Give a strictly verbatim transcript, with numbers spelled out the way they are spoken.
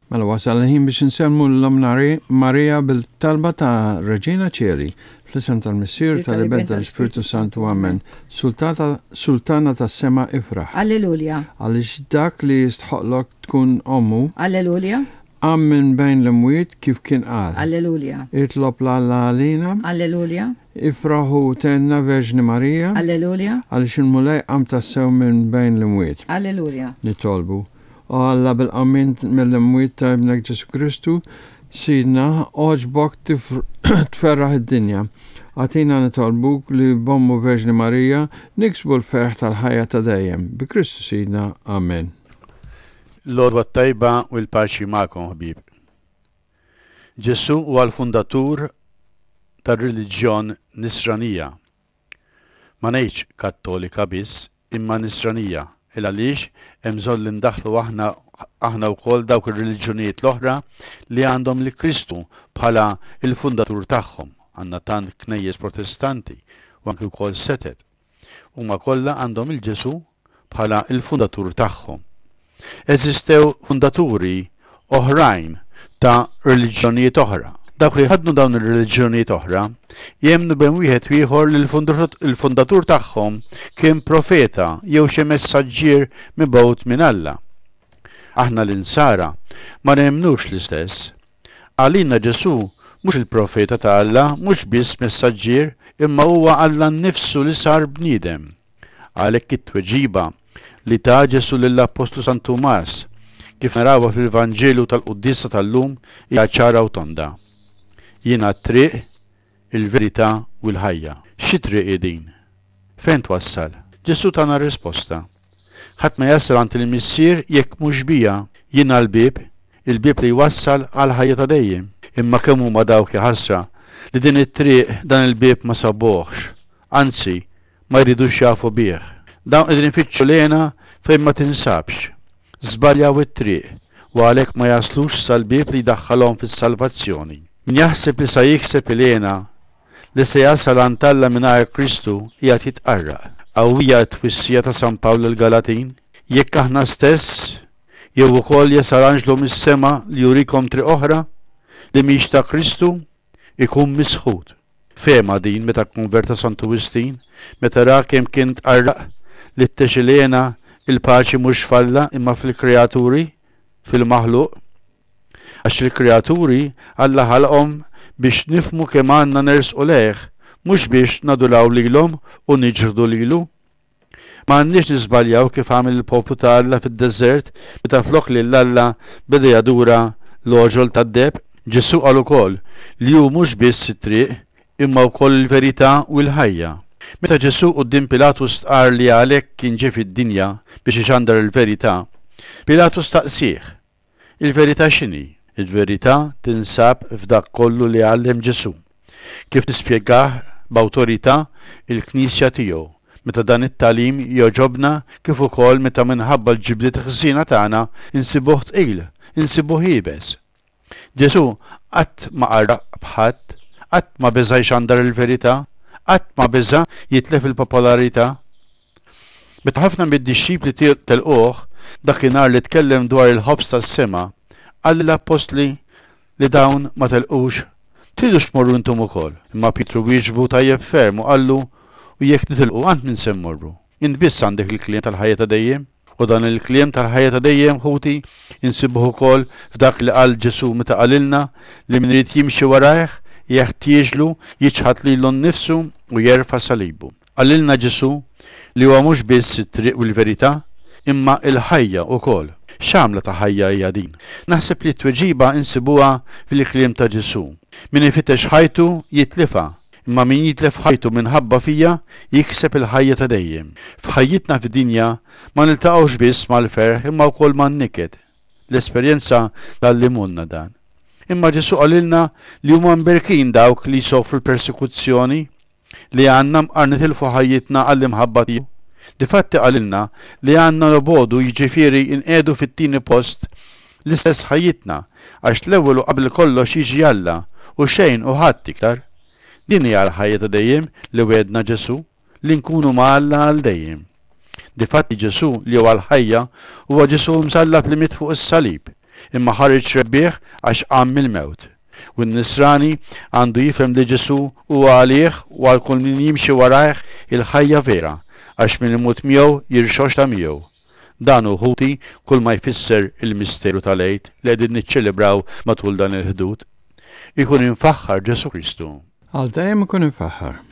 Mela wasal il-ħin biex insellmu 'l Ommna Marija bil-talba ta' Regina Coeli, fl-isem tal-Missier, tal-Iben, tal-Ispirtu Santu, Amen. Sultata, Sultana tas-sema ifraħ. Alleluja. Għaliex dak li jistħoqqlok tkun ommu, Alleluja. qam minn bejn l-imwiet kif kien qal. Alleluja. Itlob 'l Alla għalina, Alleluja. Ifraħ u thenna Verġni Marija, Alleluja. Għaliex il-Mulej qam tassew minn bejn l-imwiet. Alleluja. Nitolbu. O Alla, bil-qawmien mill-imwiet ta' ibnek Ġesu Kristu, Sidna, għoġbok tferraħ id-dinja. Agħtina, nitolbuk, li b'ommu Verġni Marija niksbu l-ferħ tal-ħajja ta' dejjem. Bi Kristu Sidna. Amen. L-għodwa tajba u l-paċi magħkom, ħbieb. Ġesu huwa l-fundatur tar-reliġjon Nisranija. Ma ngħidx Kattolika biss, imma Nisranija. Il għaliex hemm bżonn li ndaħlu aħna aħna wkoll dawk ir-reliġjonijiet l-oħra li għandhom li Kristu bħala il-fundatur tagħhom. Għandna tant knejjes Protestanti u anki wkoll setet. Huma kollha għandhom il-Ġesu bħala il-fundatur tagħhom. Eżistew fundaturi oħrajn ta' reliġjonijiet oħra. Dawk li ħadnu dawn ir-reliġjonijiet oħra jemmnu bejn wieħed u ieħor li l-fundatur tagħhom kien profeta jew xi messaġġier mibgħut minn Alla. Aħna l-Insara ma nemmnux l-istess. Għalina Ġesu mhux il-profeta ta' Alla, mhux biss messaġġier, imma huwa Alla nnifsu li sar bniedem. Għalhekk it-tweġiba li ta Ġesu lill-Appostlu San Tumas, kif narawha fil-Vanġelu tal-Quddiesa tal-lum, hija ċara u tonda. Jiena t-triq, il-verità u l-ħajja. Xi triq hi din? Fejn twassal? Ġesu tana risposta. Ħadd ma jasal għand il-Missier jekk mhux bija. Jiena l-bieb, il-bieb li jwassal għal ħajja ta' dejjem. Imma kemm huma dawk, ħasra, li din it-triq, dan il-bieb ma sabuhx, anzi ma jridux jafu bih. Dawn qegħdin ifittxu l-hena fejn ma tinsabx. Żbaljaw it-triq u għalhekk ma jaslux sal-bieb li jdaħħalhom fis-salvazzjoni. Min jaħseb li sa jikseb il-hena, li se jasal għand Alla mingħajr Kristu, qiegħed jitqarraq. Qawwija t-twissija ta' San Pawl il-Galatin: jekk aħna stess jew ukoll jasal anġlu mis-sema li jurikom triq oħra li mhix ta' Kristu, ikun misħut. Fehma din meta konverta Santu Wistin, meta ra kemm kien tqarraq li fittex il-hena, il-paċi mhux f'Alla imma fil-kreaturi, fil-maħluq. Għax il-kreaturi Alla ħalqhom biex nifhmu kemm għandna nersqu lejh, mhux biex nadulaw lilhom u niġħdu lilu. Ma għandniex niżbaljaw kif għamel il-poplu ta' Alla fid-deżert meta flok lil Alla beda jadura l-għoġol tad-deheb. Ġesu qal ukoll li hu mhux biss it-triq imma wkoll il-verità u l-ħajja. Meta Ġesu quddiem Pilatu stqar li għalhekk kien ġie fid-dinja biex ixandar il-verità, Pilatu staqsih: il-verità x'inhi? Il-verità tinsab f'dak kollu li għallem Ġesu, kif tispjegah b'awtorità il-Knisja tiegħu, meta dan it-tagħlim jogħġobna kif ukoll meta minħabba l-ġibliet ħżiena tagħna insibuh tqil, insibuh iebes. Ġesu qatt ma qarraq b'ħadd, qatt ma beża' jxandar il-verità, qatt ma beża' jitlef il-popolarità. Meta ħafna mid-dixxipli telquh dakinhar li tkellem dwar il-ħobż tas-sema, qal lill-appostli li dawn ma telqux: tridux tmorru intom ukoll? Imma Pietru wieġbu tajjeb ferm u qallu: u jekk nitilqu, għand min se mmorru? Int biss għandek il-kliem tal-ħajja ta' dejjem. U dan il-kliem tal-ħajja ta' dejjem, ħuti, insibuh ukoll f'dak li qal Ġesu meta qalilna li min irid jimxi warajh jeħtieġlu jiċħad lilu nnifsu u jerfa' salibu. Qalilna Ġesu li huwa mhux biss it-triq u l-verità, imma il-ħajja wkoll. X'għamla ta' ħajja hija din? Naħseb li t-tweġiba insibuha fil-kliem ta' Ġesu. Min ifittex ħajtu jitlifha, imma min jitlef ħajtu minħabba fija jikseb il-ħajja ta' dejjem. F'ħajjitna fid-dinja ma niltaqgħux biss mal-ferħ imma wkoll man-niket. L-esperjenza tgħallimulna dan. Imma Ġesu qalilna li huma mberkin dawk li jsofru l-persekuzzjoni, li għandna mqar nitilfu ħajjitna għall-imħabba tiegħu. Difatti qalilna li għandna nobogħdu, jiġifieri inqiegħdu fit-tieni post l-istess ħajjitna, għax l-ewwel u qabel kollox jiġi Alla u xejn u ħadd iktar. Din hija l-ħajja ta' dejjem li wegħedna Ġesu, li nkunu ma' Alla għal dejjem. Difatti Ġesu li huwa l-ħajja huwa Ġesu msallab li miet fuq is-salib. Imma ħareġ rebbieħ għax qam mill-mewt. U n-nisrani għandu jifhem li Ġesù huwa għalih u għal kull min jimxi warajh il-ħajja vera, għax min imut miegħu jirxoxta miegħu. Dan hu, ħuti, kull ma jfisser il-misteru tal-Għid li qegħdin niċċelebraw matul dan il-Ħdud. Ikun imfaħħar Ġesù Kristu. Għal dejjem ikun imfaħħar.